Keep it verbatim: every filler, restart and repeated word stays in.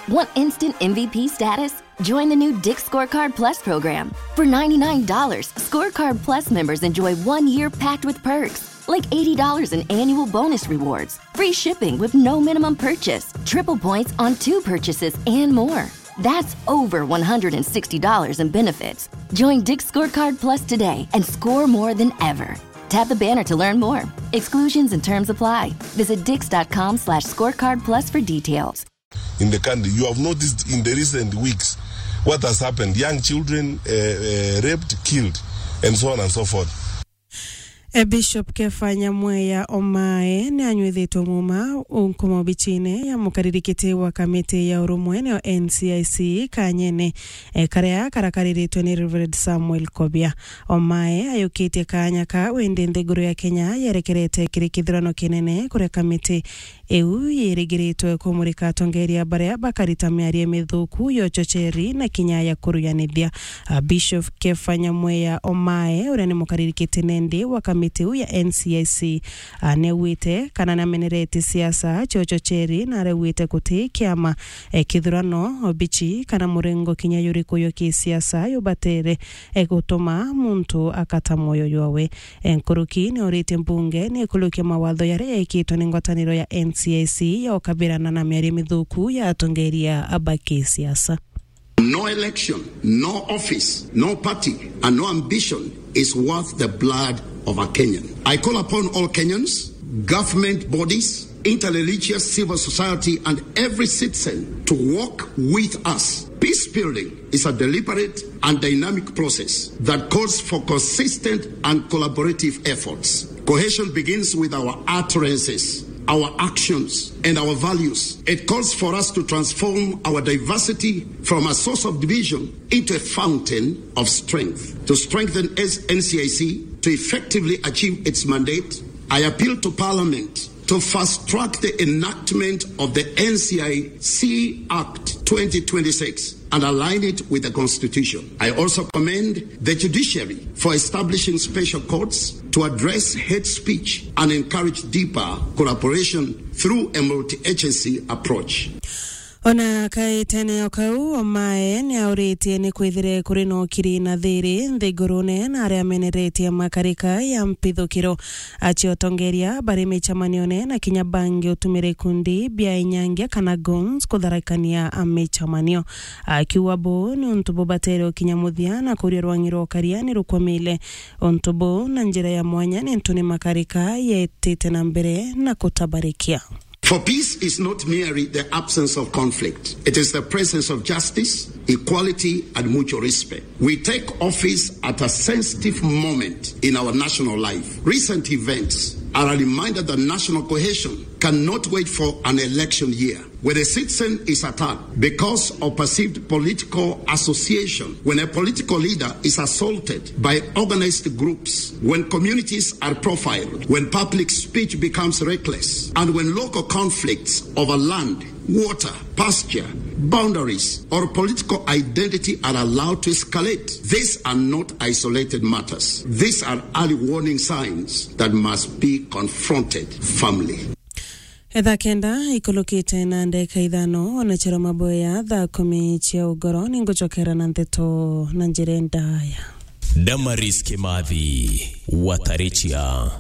Want instant M V P status? Join the new Dick's Scorecard Plus program. For ninety-nine dollars, Scorecard Plus members enjoy one year packed with perks, like eighty dollars in annual bonus rewards, free shipping with no minimum purchase, triple points on two purchases, and more. That's over one hundred sixty dollars in benefits. Join Dick's Scorecard Plus today and score more than ever. Tap the banner to learn more. Exclusions and terms apply. Visit dicks.com slash scorecard plus for details. In the country, you have noticed in the recent weeks what has happened. Young children, uh, uh, raped, killed, and so on and so forth. E Bishop Kefa Nyamweya Omae ni anywithitwe muuma unkumo bicine ya mukaririkiti wa kamiti ya urumwe niyo N C I C kanyene, e, karia karakariritwe ni Reverend Samuel Kobia. Omae ayukitie kaanya kau indi nthiguru ya Kenya yerekerete kiri kithurano kinene kuria kamiti iu yirigiritwe kumurika atongeria baria bakarita miario mithuku ya uchocheri na kinya ya kuruyanithia. A, Bishop Kefa Nyamweya Omae, uria ni mukaririkiti nendi wa kamiti iu ya N C I C, a, neugite kana namenerete siasa cia uchocheri na arauite guti kiama, e, kithurano, obichi kana murengo kinya yuriku yo kisiasa yubatere, e, gutuma muntu akata mwoyo jwawe. E, nkuruki ni oritie mbunge ni ikurukia mawatho yaria yaikitwe ni ngwataniro ya N C I C ya ukabirana na miario mithuku ya atongeria ba kisiasa. No election, no office, no party, and no ambition is worth the blood of a Kenyan. I call upon all Kenyans, government bodies, interreligious civil society, and every citizen to work with us. Peace building is a deliberate and dynamic process that calls for consistent and collaborative efforts. Cohesion begins with our utterances, our actions, and our values. It calls for us to transform our diversity from a source of division into a fountain of strength. To strengthen N C I C to effectively achieve its mandate, I appeal to Parliament to fast-track the enactment of the N C I C Act twenty twenty-six and align it with the Constitution. I also commend the judiciary for establishing special courts to address hate speech and encourage deeper collaboration through a multi-agency approach. Ona kaitene o kau, Omae ni auritie ni kwithire kuri na ukiri na thiri nthigurune na aria ameneretie makarika ya mpithukiro. Acio atongeria bari micemanione na kinya bangi utumire ikundi bia inyangia kana goons kutharakania micemanio. Akiuga buu ni untu bubatere ukinya muthia na kuria rwangi rwa ukaria ni rukwamile. Untu buu na njira ya mwanya ni untu ni makarika yetite na mbere na kutabarikia. For peace is not merely the absence of conflict. It is the presence of justice, equality, and mutual respect. We take office at a sensitive moment in our national life. Recent events are a reminder that national cohesion cannot wait for an election year. When a citizen is attacked because of perceived political association, when a political leader is assaulted by organized groups, when communities are profiled, when public speech becomes reckless, and when local conflicts over land, water, pasture, boundaries, or political identity are allowed to escalate, these are not isolated matters. These are early warning signs that must be confronted firmly. Thaa kenda ikulukite na ndeka ithano, ona chero maboya thaa kumi cia ugoro, ningucokera na ndeto na njira ndaya. Damaris Kimathi, Watarichia.